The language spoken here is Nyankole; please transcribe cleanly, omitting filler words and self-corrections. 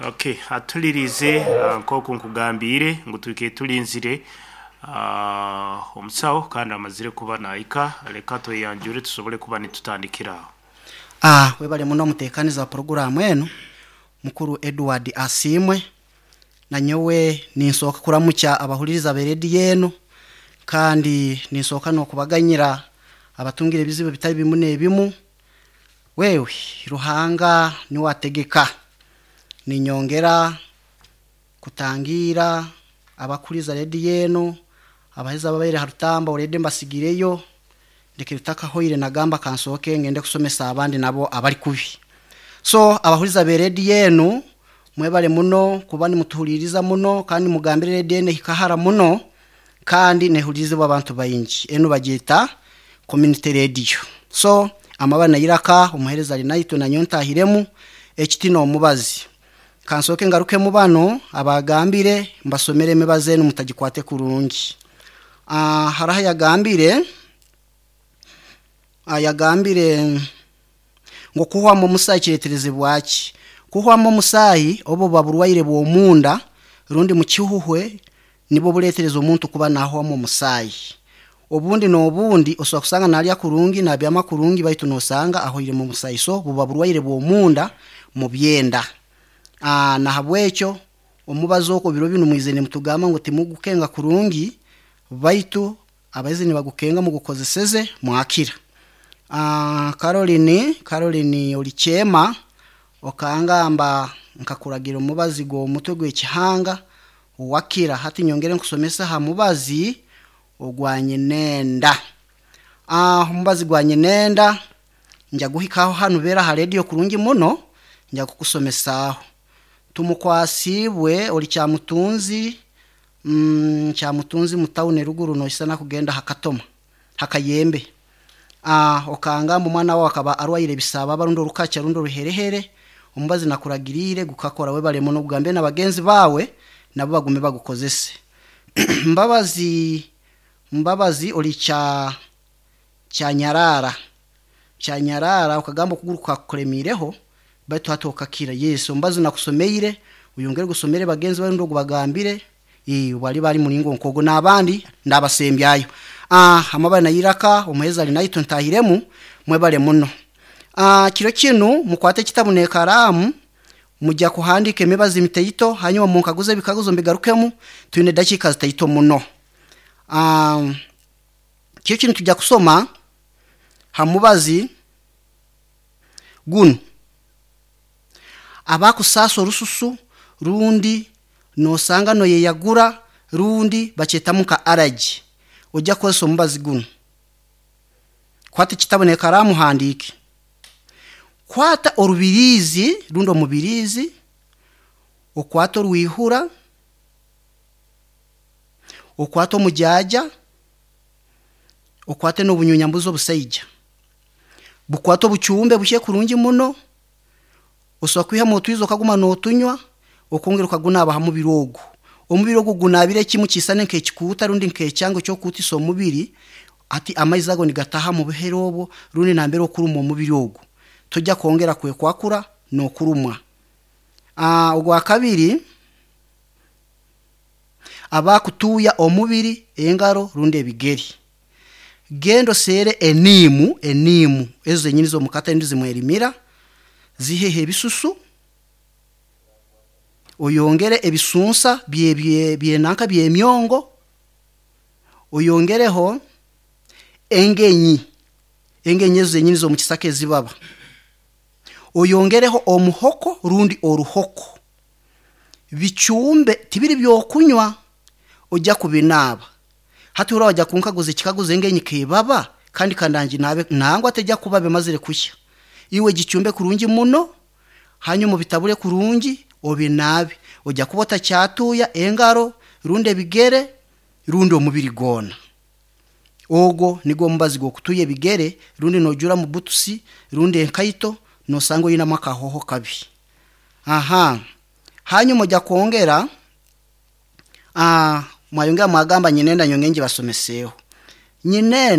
Okay, atulirize nk'oku nkugambiire ngu twike tulinzire omusawo kandi amazire kuba nahika, leka tweyanjure tusobole kuba nitutandikira aho. Webale muno omuteekaniza wa puroguraamu enu mukuru Edward Asiimwe. Nanyowe ninsooka kuramukya abahuririza b'erediyo enu kandi ninsooka n'okubaganyira abatungire ebizibu ebitari bimu n'ebimu. Wewe Ruhanga niwe ategeka. Ninyongera kutangiira abakuriza rediyo enu, abaheza ababaire ha rutamba already mbasigireyo, ndekere tutakahoire nagamba kansooke ngende kusomesa abandi nabo abari kubi. So abahuriza b'erediyo enu mwebale muno kuba nimutuhuririza muno kandi mugambire rediyo enu ehika hara muno kandi nehulirizibwa abantu baingi. Enu bagyeta community radio. So amabara nairaka omuheereza ari naitwe nanyowe ntahiremu ekiti n'omubazi. Kansooke ngarukemu banu abagambire mbasomere emibazi enu mutagikwate kurungi. Hariho ayagambire ayagambire ngu okuhwamu omusaayi kireeterezebwa ki? Kuhwamu omusaayi obu buba burwaire bw'omunda rundi mukihuhwe nibwo bureetereza omuntu kuba naahwamu omusaayi. Obundi n'obundi osobola kusanga naarya kurungi, naabyama kurungi baitu noosanga ahoiremu omusaayi. So buba burwaire bw'omunda mu byenda. Nahabwekyo omubazi ogwo biro binu mwizire nimutugamba ngu timugukenga kurungi baitu abahaizi nibagukenga mugukozeseze mwakira. Caroline, Caroline ori kyema okangamba nkakuragira omubazi gw'omutwe gw'ekihanga wakira. Hati nyongere nkusomese aha mubazi ogwa nyinenda. Omubazi gwa nyinenda nja guhikaho hanu beera aha rediyo kurungi muno nja kukusomesaaho. Tumukwasiibwe ori Kyamutunzi, Kyamutunzi mu tawuni eruguru noisana kugenda aha Katoma, Hakayembe. Okangamba omwana waawe akaba arwaire ebisaababa rundi orukakya rundi oruherehere, omubazi nakuragiriire gukakora webale muno ogugambire na bagenzi baawe nabo bagume bagukozese. Mbabazi Mbabazi ori kya Kyanyaraara, Kyanyaraara okagamba okuguru kukakukuremiireho baitu hati okakira. Yes, omubazi nakusomeire oyongere ogusomere bagenzi baawe rundi ogubagambire obu ariba ari muringo nk'ogwo n'abandi ndabasembyayo. Amabare nairaka omuheereza ari naitwe ntahiremu mwebale muno. Kiro kinu mukwate ekitabu n'ekaraamu mujya kuhandiika emibazi mitaito hanyuma munkaguze ebikaguzo mbigarukemu twine edakiika zitaito muno. Kiro kinu nitwija kusoma ha mubazi gunu, abakusaasa orususu rundi noosanga nooyeyagura rundi bakyetamu nka allergy, ojya kukozesa omubazi gunu. Kwata ekitabu n'ekaraamu ohandiike. Kwata orubiriizi rundi omubiriizi, okwate orwihura, okwate omujaaja, okwate n'obunyunyambuzi obusaija. Bukwate obucumbe buhye kurungi muno, osobola kwihamu otwizi okaguma nootunywa, okongera okagunaaba ha mubiri ogu. Omubiri ogu gunaabire kimu kiisane nk'ekikuuta rundi nk'ekyango eky'okukuutisa omubiri, hati amaizi ago nigataaha mu buhere obwo rundi nambere okurumwa omubiri ogu. Tojya kwongera kwekwakura n'okurumwa. Ogwakabiri, abakutuuya omubiri, engaro rundi ebigere. Genda oseere eniimu, eniimu ezo zenyini ez'omu katare zimwerimira, ziheho ebisusu, oyongere ebisunsa bye bye byenanka by'emyongo, oyongereho engenyi, engenyi ezo zenyini ez'omu kisaka ezibaba, oyongereho omuhoko rundi oruhoko. Bicumbe tibiri by'okunywa, ojya kubinaaba. Hati hurra wajya kunkaguza ekikaguzo engenyi keebaba kandi kandanginaabe nangwa tejya kuba bimazire kuhya. Iwe gicumbe kurungi muno, hanyuma obitabure kurungi obinaabe. Ojya kuba otakyatuuya engaro rundi ebigere rundi omubiri gwona. Ogwo nigwo omubazi gw'okutuuya ebigere rundi noojuura mu butusi rundi enkaito noosanga oinemu akahooho kabi. Aha, hanyuma ojya kwongera mwayongera mwagamba nyinenda nyongere ngibasomeseeho. Nyinenda.